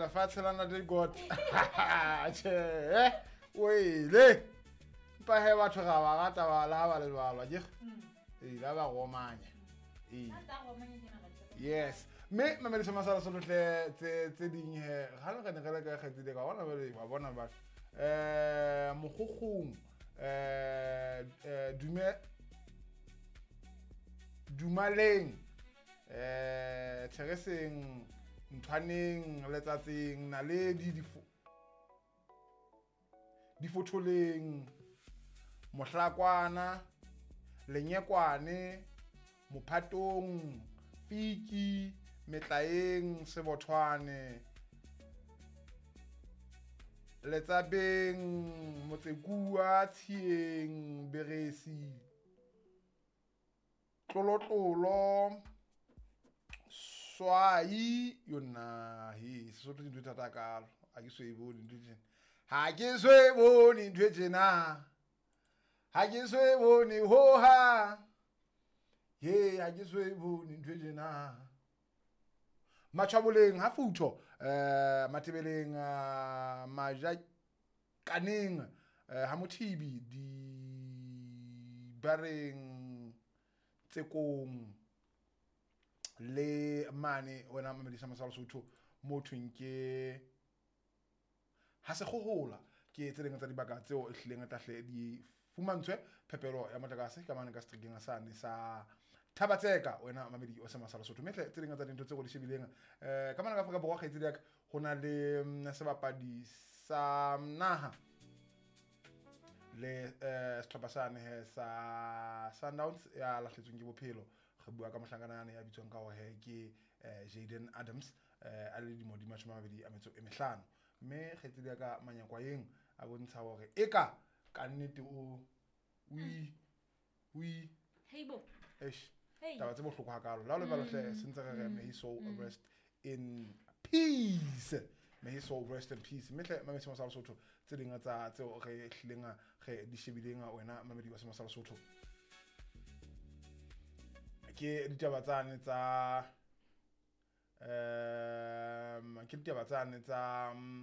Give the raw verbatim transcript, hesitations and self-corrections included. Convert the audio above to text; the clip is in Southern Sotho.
Lefatshe la ntate God. Tjhe, eh, wele. Empa he batho ra ba rata ba la ba le jwalo, akere? Ee, la ba romanya. Ee. Yes. Mme mamediso masala solotle tse tse ding he ga le re ne re le ka kgetsile ka bona bale wa bona batho. Eh mokgokgong eh eh dume dumaleng eh Thereseng nthwaneng letsatsing naledi difo difotholeng mohlakwana lenyekwane mophatong piki metlaeng sebothwane letsabeng motsekua tshieng beresi tlolotlolo swai yona he Sesotho dintho tse thata kalo ha ke so e bone ntho tjena ha ke so e bone ntho e tjena ha ke so e bone hoha he ha ke so e bone ntho e tjena matjhaboleng ha futho eh matebeleng uh, majakaneng eh, ha mothibi di bareng tsekong le mane wena mamedisa masala Sotho mo thweng ke ha se kgohola ke tse ding tsa dibaka tseo e hlileng tla di fumantshwe phepelo ya motlakase ka mane ka seterekeng sane sa Thabatseka wena mamedi o se masala Sotho mehle tse ding tsa dintho tseo di shebileng eh ka mane ka Afrika Borwa kgaitsedi ya ka ho na le mm, sebapadi sa naha le eh sehlopha sane he sa Sundowns ya lahletsweng ke bophelo re bua ka mohlankana ya bitswang ka hore he ke eh, Jaden Adams eh a le dilemo di mashome a mabedi a metso e mehlano mme kgaitsedi ya ka manyakwayeng a bontsha hore eka ka nnete o o i o i Heibo. eish Hey. taba tse bohloko hakalo la o lebalo hle sentse re re may his soul rest in peace may his soul rest in peace mme hle mamedi sa Lesotho tse ding tsa tseo re hlileng re di shebileng wena mamedi wa Sema sa Lesotho ke ditaba tsane tsa um ke ditaba tsane tsa mm,